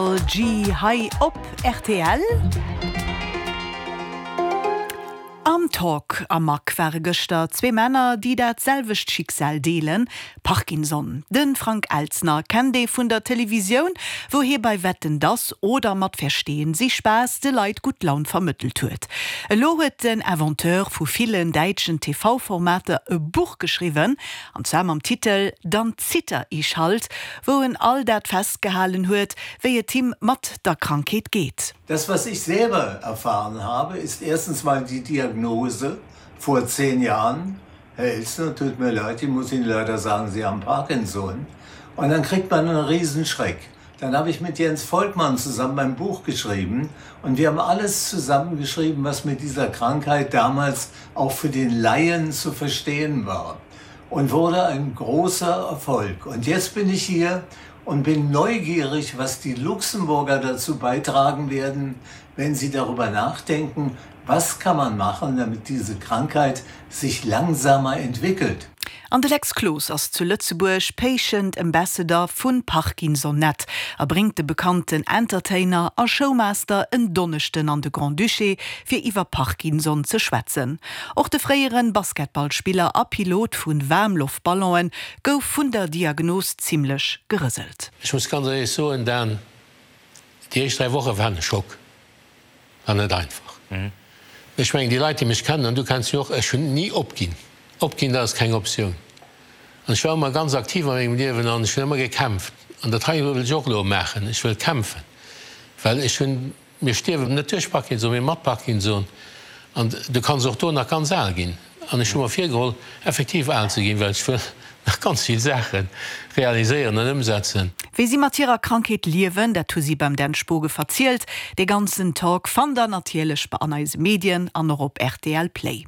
Karol G hei op rtl. Am Talk am Mag ware gëschter zwee Männer, déi dat selwecht Schicksal deelen, Parkinson. De Frank Elstner kennt ee vun der Televisioun, wou hie bei Wetten dass oder mat Verstehen Sie Spaß de Leit gutt Laun vermëttelt huet. Elo huet den Inventeur vu villen däitschen TV-Formater e Buch geschriwwen, an zwar mam Titel Dann zitter ich halt, wou en all dat festgehalen huet, wéi et him mat der Krankheet geet. Das, was ich selber erfahren habe, ist erstens mal die Diagnose vor zehn Jahren, Herr Elstner, tut mir leid, ich muss Ihnen leider sagen, Sie haben Parkinson. Und dann kriegt man einen Riesenschreck. Dann habe ich mit Jens Volkmann zusammen ein Buch geschrieben und wir haben alles zusammengeschrieben, was mit dieser Krankheit damals auch für den Laien zu verstehen war und wurde ein großer Erfolg. Und jetzt bin ich hier und bin neugierig, was die Luxemburger dazu beitragen werden, wenn sie darüber nachdenken, was kann man machen, damit diese Krankheit sich langsamer entwickelt. An de Lex Cloos ass zu Lëtzebuerg Patient Ambassador vu Parkinsonnet a bréngt de bekannten Entertainer a Showmaster en Donneschden an de Grand-Duché fir iwwer Parkinson ze schwätzen. Och de fréiere Basketballspiller a Pilot vu Waarmloftballonen gouf vun der Diagnos zimmlech gerëselt. Ech muss ganz éierlech soen, Dan, déi éischt 3 Woche waren e Schock. War net einfach. Ech mengen, déi Leit, déi mech kennen, an du kenns mech och, ech hunn ni opginn. Opginn, dat ass keng Optioun. An ech war ëmmer ganz aktiv a mengem Liewen an ech hunn ëmmer gekämpft. An dat hei wëll ech och elo maachen. Ech wëll kämpfen, well ech hunn, mir stierwen net duerch Parkinson, mee mat Parkinson. An du kanns och do nach ganz al ginn. An ech hu mer virgeholl, effektiv al ze ginn, well ech wëll nach ganz vill Saache realiséieren an ëmsetzen. Wéi si mat hirer Krankheet liewen, dat hu si beim Dan Spogen verzielt. Dee ganzen Talk fannt der natierlech bei an eise Medien an och op rtl Play.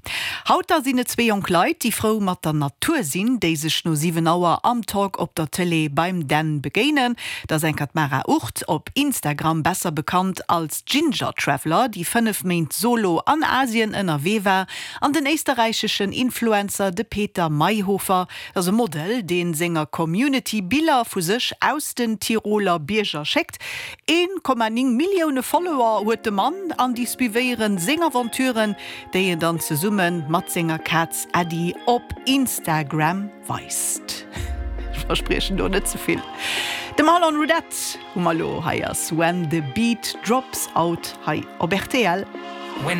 Haut da sinn et zwee jonk Leit, déi frou mat der Natur sinn, déi sech no 7 Auer am Talk op der Tëlee beim Dan begéinen. Dat ass enker d'Mara Ucht, op Instagram besser bekannt als Ginger Traveler, déi 5 Méint solo an Asien ënnerwee war, An den éisterräicheschen Influencer, de Peter Mayhofer, ass e Model, dee senger Community Biller vu sech aus den Tiroler Bierger schéckt. 1,9 Millioune Follower huet de Mann an déi suivéieren seng Aventuren, déi en dann zesumme mat senger Kaz Äddi op Instagram weist. Ech verspriechen do net ze vill. De Marlon Roudette hu mer elo. Hei ass When the Beat Drops Out hei op rtl.